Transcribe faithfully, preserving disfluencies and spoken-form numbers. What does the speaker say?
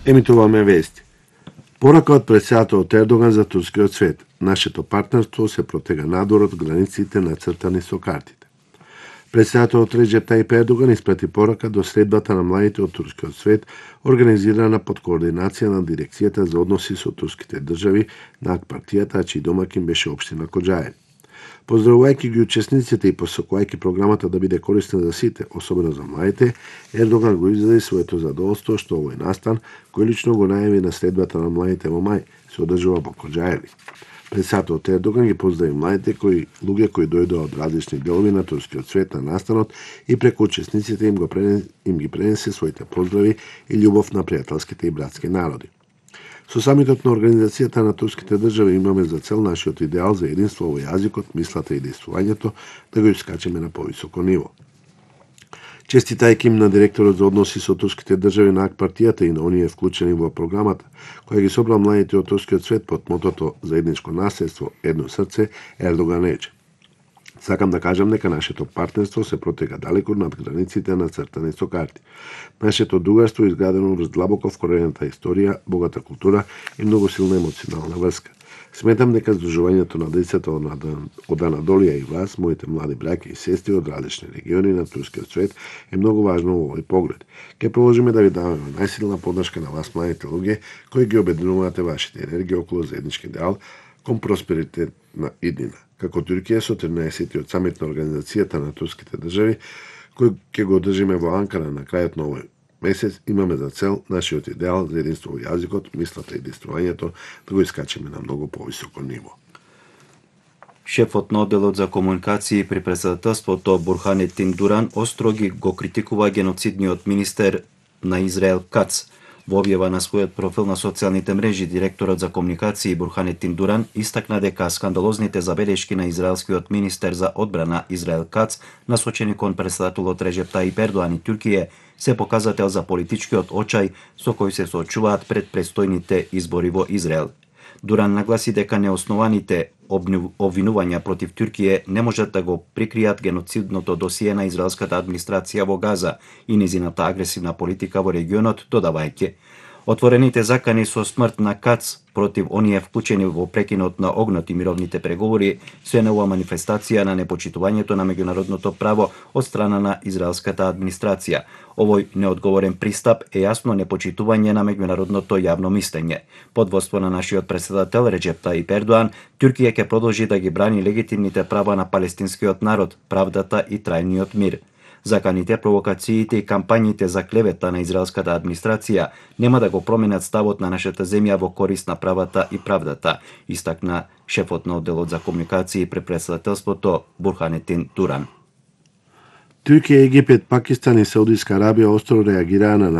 Емитуваме вести. Порака од председателот Ердоган за турскиот свет. Нашето партнерство се протега надвор од границите нацртани со картите. Председателот Реджеп Таип Ердоган испрати порака до средбата на младите од турскиот свет, организирана под координација на Дирекцијата за односи со турските држави на ак партијата, а чиј домакин беше општина Коџаје. Поздравувајќи ги учесниците и посакувајќи програмата да биде корисна за сите, особено за младите, Ердоган го изрази своето задоволство што овој настан, кој лично го најави на средбата на младите во мај, се одржува во Коџајеви. Председателот Ердоган ги поздрави младите кои луѓе кои дојдоа од различни делови на турскиот свет на настанот и преку учесниците им го пренесе, им ги пренесе своите поздрави и љубов на пријателските и братски народи. Со самитот на Организацијата на турските држави имаме за цел нашиот идеал за единство во јазикот, мислата и действувањето да го искачеме на повисоко ниво. Честитајќи им на директорот за односи со турските држави на ак партијата и на оние вклучени во програмата, која ги собра младите од турскиот свет под мотото заедничко наследство, едно срце, Ердоган рече: Сакам да кажам дека нашето партнерство се протега далеку над границите на цртани со карти. Нашето другарство е изградено врз длабоко вкорената историја, богата култура и многу силна емоционална врска. Сметам дека здружувањето на децата од Анадолија и вас, моите млади браќа и сестри од различни региони на турскиот свет, е многу важно во овој поглед. Ке продолжиме да ви даваме најсилна поддршка на вас, младите луѓе, кои ги обединувате вашите енергии околу заеднички идеал кон просперитет на иднина. Како Туркија со тринаесеттиот самит на Организацијата на турските држави, кој ќе го одржиме во Анкара на крајот на овој месец, имаме за цел нашиот идеал за единство во јазикот, мислата и действувањето да го искачиме на многу повисоко ниво. Шефот на одделот за комуникации при председателството Бурханетин Дуран остро ги го критикува геноцидниот министер на Израел Кац. Во објава на својот профил на социјалните мрежи, директорот за комуникации Бурханетин Дуран истакна дека скандалозните забелешки на израелскиот министер за одбрана Израел Кац, насочени кон председателот Реджеп Таип Ердоган и Туркија, се показател за политичкиот очај со кој се соочуваат пред престојните избори во Израел. Дуран нагласи дека неоснованите обвинувања против Туркија не можат да го прикријат геноцидното досие на израелската администрација во Газа и незината агресивна политика во регионот, додавајќи: Отворените закани со смрт на Кац против оние вклучени во прекинот на огнот и мировните преговори се нова манифестација на непочитувањето на меѓународното право од страна на израелската администрација. Овој неодговорен пристап е јасно непочитување на меѓународното јавно мислење. Под водство на нашиот председател Реджеп Таип Ердоган, Туркија ќе продолжи да ги брани легитимните права на палестинскиот народ, правдата и трајниот мир. Заканите, провокациите и кампањите за клевета на израелската администрација нема да го променат ставот на нашата земја во корист на правата и правдата, истакна шефот на одделот за комуникации при председателството Бурханетин Дуран. Туркија, Египет, Пакистан и Саудиска Арабија остро реагираа на